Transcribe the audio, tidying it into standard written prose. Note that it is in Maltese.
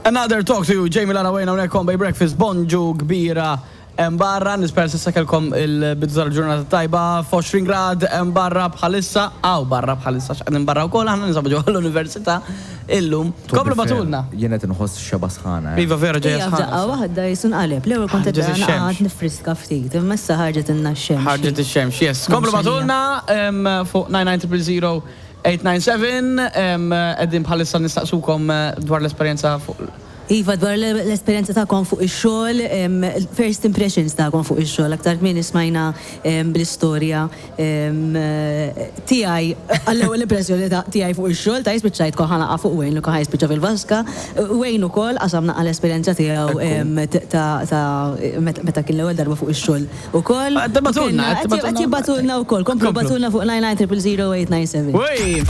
Another Talk to You, Jamie Lara Wayne hawnhekk on Bay Breakfast, bonġu kbira hemm barra, nispera s'issa kellkom il-bidu tal-ġurnata tajba, f'20 grad hemm barra bħalissa, hawn barra bħalissa x'qegħdin barra wkoll aħna ninsabu ġewwa l-università illum. Komplu bagħtulna. Jien qed inħoss xeba sħana. Iva vera ġejja sħana. F'daqqa waħda jisu nqaleb. L-ewwel kont qed naqgħad nifriska ftit, imma issa ħarġet ilna x-xemx. Ħarġet ix-xemx, yes. Komplu bagħtulna fuq 99000 897, Qegħdin bħalissa nistaqsukom dwar l-esperjenza fuq. Iva, dwar l-esperjenza tagħkom fuq ix-xogħol, first impressions tagħkom fuq ix-xogħol. Aktar kmieni smajna bl-istorja tiegħi għall-ewwel impressjoni tiegħi fuq ix-xogħol, ta' spiċċajt kont ħa naqa' fuq Wayne li kien ħa jispiċċa fil-vaska. Wayne ukoll qasam naqa' l-esperjenza tiegħu ta' meta kien l-ewwel darba fuq ix-xogħol. Ukoll. Qed Qed jibagħtulna wkoll. Komplu bagħtulna fuq 99 000 897. Ui!